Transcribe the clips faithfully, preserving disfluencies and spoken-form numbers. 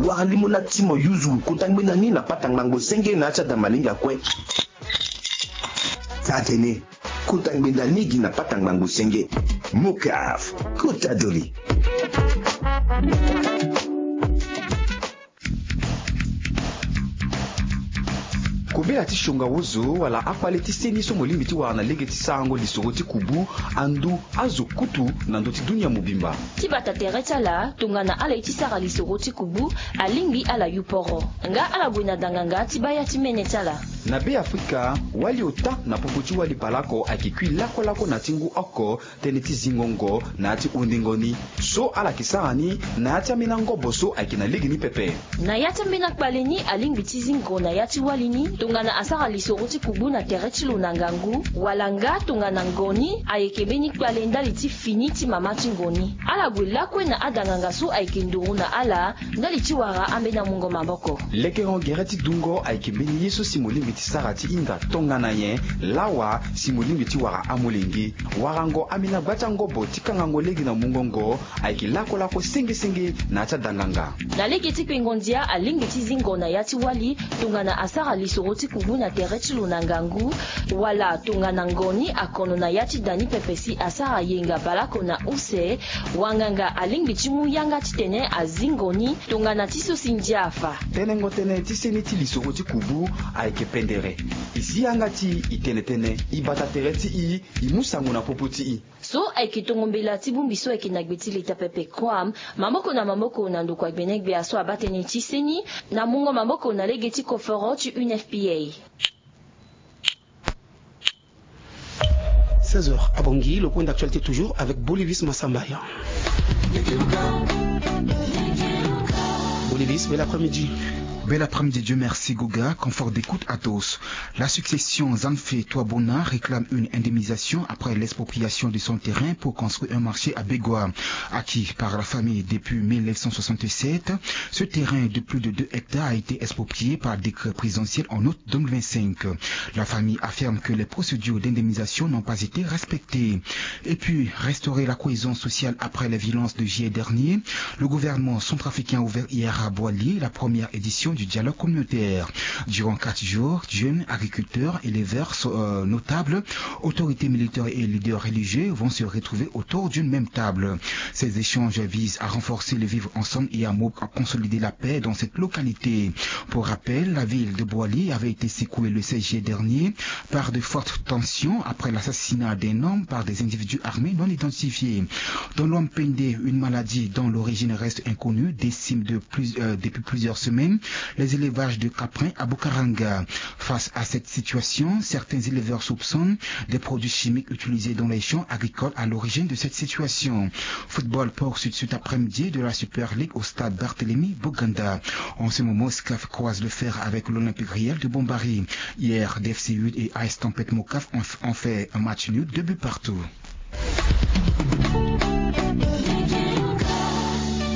Wara limo na ti mo yuzu kota ngbenda ni na pata ngbangbo senge na ya ti ada malinga kue. Taa tene kota ngbenda ni gi na pata ngbangbo senge. Mokaf, kota doli. Kobela ti siongawozo wala akpale ti seni so mo lingbi ti wara na lege ti sarango lisoro ti kubu, andu, azo kutu na ndö ti dunia mobimba. Ti bata tere ti ala tongana ala ye ti sara lisoro ti kubu, alingbi ala yu poro. Nga ala gue na danganga ti baa ya ti mene ti ala. Na Be Afrika, wali ota na popo ti wali baleoko ayeke kui lakolako na ti ngu oko, tënë ti zingo ngo na ya ti hundengo ni. So ala yeke sara ni na ya ti ambeni angobo so ayeke na lege ni pepe. Na ya ti ambeni akpale ni alingbi ti zingo na ya ti wali ni tongana asara lisoro ti kubu na tere ti lo na ngangu, wala nga tongana ngo ni ayeke mbeni kpale ndali ti fini ti mama ti ngo ni. Ala gue lakue na adanganga so ayeke nduru na ala ndali ti wara ambeni amungo maboko. Lekero gere ti dungo ayeke mbeni ye so si mo lingbi ti sara ti hinga tongana nyen? Lawa si mo lingbi ti wara amolenge. Warango ambeni agba ti angobo ti kangango lege na mungo ngo ayeke lakolako senge senge na ya ti adanganga. Na lege ti kpengo ndia alingbi ti zingo na ya ti wali tongana asara lisoro ti kubu na tere ti lo na ngangu, wala tongana ngo ni akono na ya ti da ni pepe si asara yenga baleoko na use, wanganga alingbi ti mu yanga titene azingo ni tongana ti so si ndia afa. Tenengo tënë ti seni ti lisoro ti kubu ayeke pendere. E si yanga ti e, e tene tënë, e bata tere ti e, e mu sango na popo ti e. So ayeke tongo mbela ti bongbi so ayeke na gbe ti leta pepe, Kwam, maboko na maboko na ndokua gbenegbia so abaa tënë ti seni na mungo maboko na lege ti koforo ti U N F P A. Seize heures à Bangui, le point d'actualité toujours avec Bolivis Massambaya. Bolivis, bel après-midi. Bel après-midi, Dieu merci, Goga, confort d'écoute à tous. La succession Zanfe Touabona réclame une indemnisation après l'expropriation de son terrain pour construire un marché à Begoua. Acquis par la famille depuis mille neuf cent soixante-sept, ce terrain de plus de deux hectares a été exproprié par décret présidentiel en août deux mille vingt-cinq. La famille affirme que les procédures d'indemnisation n'ont pas été respectées. Et puis, restaurer la cohésion sociale après les violences de juillet dernier. Le gouvernement centrafricain a ouvert hier à Boali la première édition du dialogue communautaire. Durant quatre jours, jeunes, agriculteurs, éleveurs, so-, euh, notables, autorités militaires et leaders religieux vont se retrouver autour d'une même table. Ces échanges visent à renforcer le vivre ensemble et à mo-, à consolider la paix dans cette localité. Pour rappel, la ville de Boali avait été secouée le seize juillet dernier par de fortes tensions après l'assassinat d'un homme par des individus armés non identifiés. Dans l'Ompende, une maladie dont l'origine reste inconnue décime de plus, euh, depuis plusieurs semaines les élevages de caprins à Bukaranga. Face à cette situation, certains éleveurs soupçonnent des produits chimiques utilisés dans les champs agricoles à l'origine de cette situation. Football pour suite, suite après-midi de la Super League au stade Barthélemy Boganda. En ce moment, SCAF croise le fer avec l'Olympique Réel de Bombari. Hier, D F C huit et A S Tempête Mokaf ont, ont fait un match nul, deux buts partout.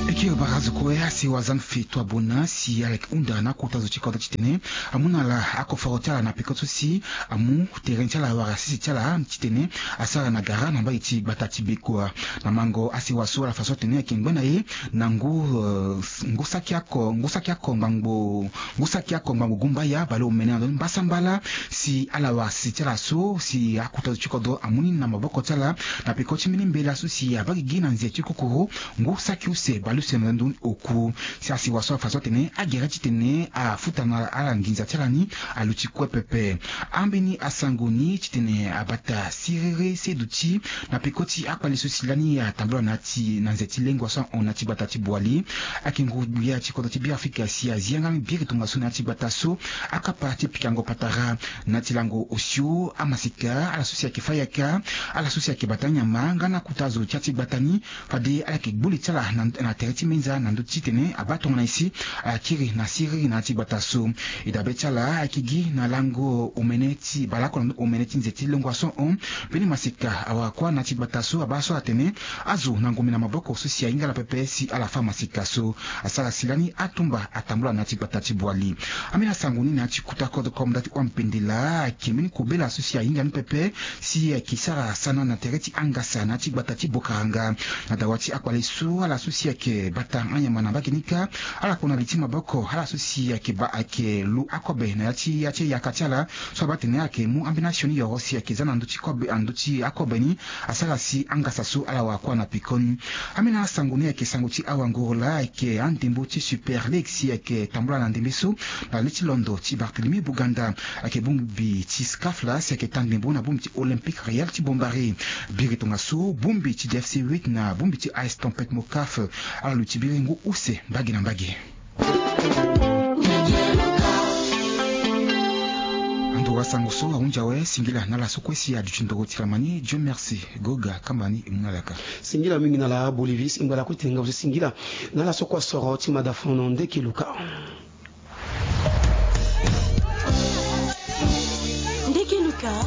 Eke bara zo kue asewa Zanfe Touabona si ala yeke hunda na akota zo ti kodro titene amu na ala akoforo ti ala na peko so si amu terrain ti ala wala sese ti ala titene asara na gara na mbage ti gbata ti Begoua. Na mango asewa so ala fa so atene ayeke ngba na ye na ngu, eh, ngu saki ako, ngu saki ako ngbangbo, ngu saki ako ngbangbo gumbaya baleomene na ndö ni mbasambala si ala wara sese ti ala so si akota zo ti kodro amu ni na maboko ti ala na peko ti mbeni mbela so si abaa gigi na nze ti kokoro ngu saki use baleuse na ndö ni oku. Si asewa so afa so atene agere titene afuta na ala nginza ti ala ni aluti kue pepe. Ambeni asango ni titene abata siriri seduti na peko ti akpale so si lani atambula na ya ti na nze ti lengua so ahon na ya ti gbata ti Boali. Ayeke nguru-gbia ti kodro ti Beafrika si azi yanga ni biri tongaso na ya ti gbata so akapa ti pikango patara na ya ti lango osio amaseka ala so si ayeke fâ yaka, ala so si ayeke bata anyama nga na akota zo ti ya ti gbata ni. Fade ala yeke gbu li ti ala na, na tere ti menza na ndö ti tene abaa tongana nyen si ala kiri na siriri na ya ti gbata so. E dabe ti ala ayeke gi na lango omene ti baleoko na ndö omene ti nze ti lengua so ahon. Mbeni maseka awara kuâ na ya ti gbata so abaa so atene azo na ngombe na maboko so si ahinga ala pepe si ala fâ maseka so. Asara si lani atumba atambula na ya ti gbata ti Boali. Ambeni asango ni na ya ti kota kodro comme nda ti Ompende laa ayeke mbeni kobela so si ahinga ni pepe si ayeke sara sana na tere ti angasa na ya ti gbata ti Bokaranga. Na dawa ti akpale so ala so si ayeke bata Ata anyama na mbage ni kâ ala kpo na li ti maboko ala so si ayeke baa ayeke lu akobe na ya ti ya ti yaka ti ala. So abaa atene ayeke mu ambeni asioni yoro si ayeke za na ndö ti kobe na ndö ti akobe ni. Asara si angasa so ala wara kue na pekoni. Ambeni asango ni ayeke sango ti awa ngoro laa ayeke andembo ti Super League si ayeke tambula na ndembe so na le ti londo ti Barthélemy Boganda. Ayeke bongbi ti scaf laa si ayeke ta ndembo na bongbi ti Olympique Real ti Bombari. Biri tongaso bongbi ti D F C huit na bongbi ti A S Tempête Mocaf. Ala luti biri ngu use mbage na mbage. Ando wasango so ahunzi awe singila na ala so kue si aduti ndoro ti lamani. Dieu merci. Goga kamba ni e mu na ala kâ. Singila mingi na ala Bolivis e ngba lakue ti tenga so singila na ala so kue asoro ti madafono ndeke luka.